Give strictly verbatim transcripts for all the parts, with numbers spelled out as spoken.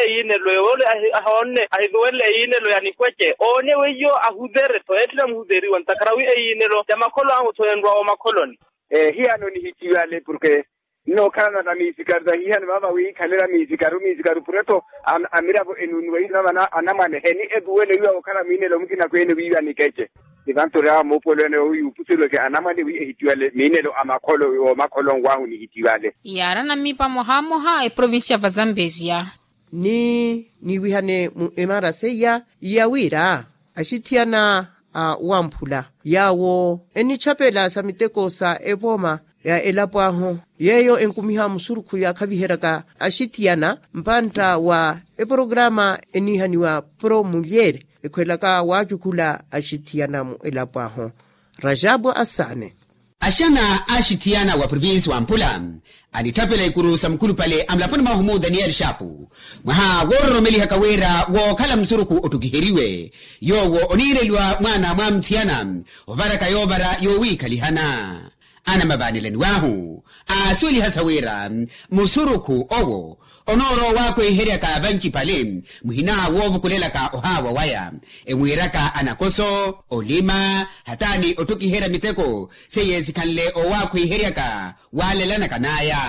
Eyiinelo ewoole ahi ahoonne ahiluwelle eyiinelo ya nikweche oone weiyo ahuzere-tho eetthira muhuzeriwa ntakhara wi eyiinelo ya makholo ahu-tho enrwa omakholoni. Ehiyano nihiciwale porke nnookhalana na miisikaru tahihano vaava wiikhalera miisikaru miisikaru pure-tho. Amiravo enuunuwa ihiiva vana anamwane heni etuwele wiiva wookhala mwiinelo mukina kweene wiiva nikece. Ni vantu oryawa muupuwelo ene wowiyuupusuliweke anamwane wi ehitiwale miinelo a makholo woomakholo nwahu nihitiwale. Yaarana mmipa mwaha mwaha eprovincia va zambezia. Ni niiwihane mu emaraseiya ya wira axithiyana a wamphula yaawo enichapela sa miteko sa epooma ya elapo ahu yeeyo enkumiha musurukhu yaakhaviheryaka axithiyana mpantta wa eporograma eniihaniwa promulyere ekhwelaka waacukhula axithiyana mu elapo ahu. Rajabu asaane. Axana axithiyana wa provinsi wa mpula anitthapela ikuru sa mukhulupale a mulaponi mwahu mu daniyeli xaapu mwaha woororomelihaka wira wookhala musurukhu ottukiheriwe yoowo oniireliwa mwaana mwa muthiyana ovaraka yoovara yoowiikhalihana. Anamavaanelani wahu aasuweliha sa wira musurukhu owo onoorowa owaakweheryaka vancipale muhina woovukulelaka ohaawa waya emwiiraka anakoso olima hataani otthukiherya miteko seiye sikhanle owaakweheryaka waalelanaka n'aya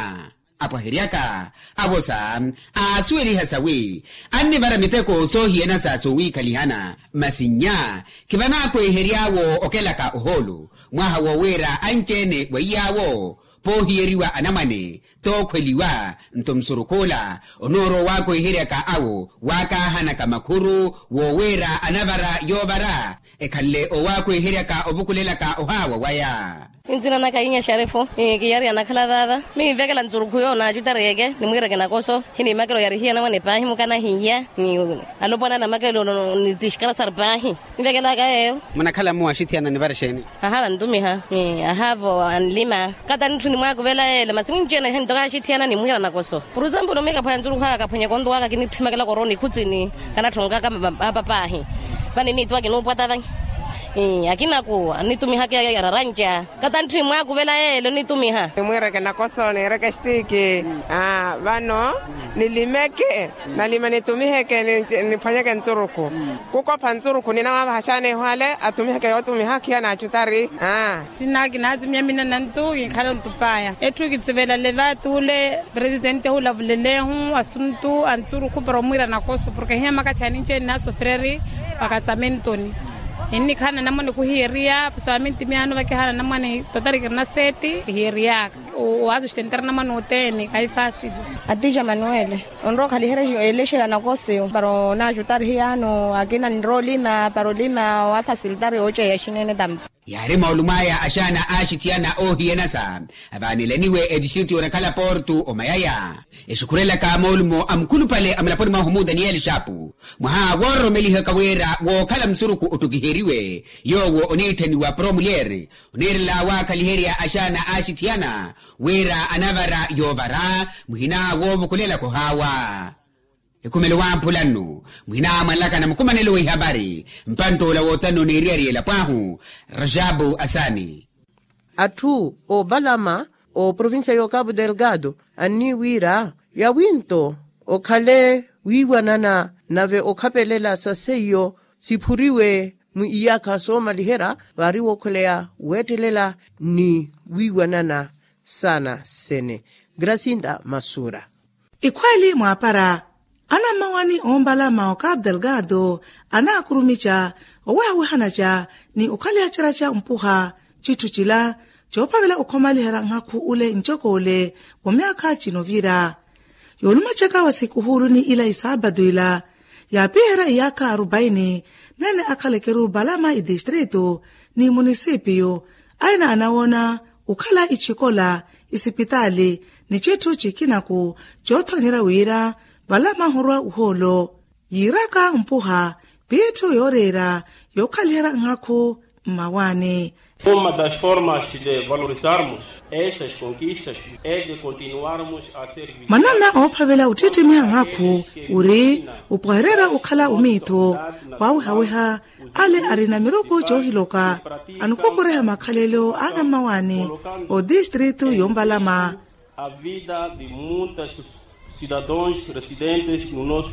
apwaheryaka avosa aasuweliha sawi annivara miteko soohiyana sa soowiikhalihana masi nnya khivanaakwehery'awo okelaka ohoolo mwaha wowiira anci-ene wa iy'awo poohiyeriwa anamwane tookhweliwa nto musurukhula onoorowa owaakweheryaka awo waakaahanaka makhuru wowiira anavara yoovara ekhanle owaakweheryaka ovukulelaka ohaawa waya. Nzina naka inya xarefu. Kiyari anakhala vaava miivekela nzurukhu yoonaacutari eke nimwiireke nakoso hiniimakela oyarihiya anamwane paahi mukanahiya ni alopwana anamakelo ni tixkarasari paahi. Nvekelaka yeeyo. Munakhala muwaxithiyana nivara exeeni? Ahava ntumiha. Ahavo anlima kata nitthu nimwaakuvela yeele masi mwinci-ene ehe ntoka axithiyana nimwiira nakoso. Por example miikaphwanya nzurukhu aka kaphwanyaka ontuwaka kinitthimekela korooni ikhutsini kanatthongaka apa paahi. Vani niituwa kinuupwata vanyi. Akinaku anitumihaka yararanja kata ntthi nimwaakuvela yeele onitumiha. Nimwiireke nakoso niireke extiiki. Vano nilimeke nalima nitumiheke niphwanyeke ntsurukhu. Kukopha ntsurukhu ninawavaha xaana ehwale atumiheke yootumiha akhiya naacutari. Sinna kinaazimiya mina nantu kinkhala ontupaya etthu kitsivela leva tuule. Presitente hulavulelehu asuntu a ntsurukhu para omwiira nakoso porke hiya makathi aninci-ene naasofereri. Vakatsamentoni ninnikhala nanamwane kuhiyeriya. Soamente miyaano vakihaana namwane totarikiri na seti kihiyeriyaka. Owaasustentera namwane othene kaifasili. Atija manuele onrowa okhaliherya elexa ya nakoseyo para onaajuta arihiyaano akina ninrowa olima para olima waafasilitari ooceya xinene tampa. Yaari moolumo aya axaana aaxithiyana oohiyanasa avaanelaniwe etistritu yoonakhala portu omayaya. Exukhurelaka moolumo a mukhulupale a mulaponi mwahu mu daniyeli xaapu mwaha woororomelihaka wira wookhala musurukhu ottukiheriwe yoowo oniitthaniwa promulyere oniirela waakhaliherya axaana aaxithiyana wira anavara yoovara muhina woovukulelaka ohaawa. Ekhumelo wamphula nnu muhina mwanlakana mukhumanelo w'ihavari mpantt'ola wootano n'eriyari y'elapo ahu. Rajabu asaani. Atthu oopalama oprovincia y'okapu delgado anniiwiira yawinto okhale wiiwanana nave okhapelela sa seiyo siphuriwe mu iyaakha soomaliherya vaari wookhweleya weettelela ni wiiwanana saana sene. Grasinda masura. Ikhweeli mwaapara anammawaani oompalama okapu delgado anaakurumica owehawehanaca ni okhalihacerya ca mpuha citthu cila coophavela okhomaliherya nhakhu ule ncok'ule wa myaakha cinovira. Yoolumacaka wa sikuhuuluni ila isaapatu ila yaapiherya iyaakha arupaini nene akhalekeru palama itistritu ni munisipiyu aina anawoona okhala ichikola isipitaali ni citthu cikinaku coothonyerya wira valama ahurwa ohoolo yiiraka mpuha piitthu yooreera yookhaliherya nhakhu mmawaani. Uma das formas de valorizarmos estas conquistas é de continuarmos a servir. Mwanana oophavela ottittimya nhakhu ori opwahererya okhala omiitho waawehaweha ale arina miroko coohiloka anikokoreha makhalelo a anammawaani otistritu yoompalama. A vida de muitas cidadãos residentes no nosso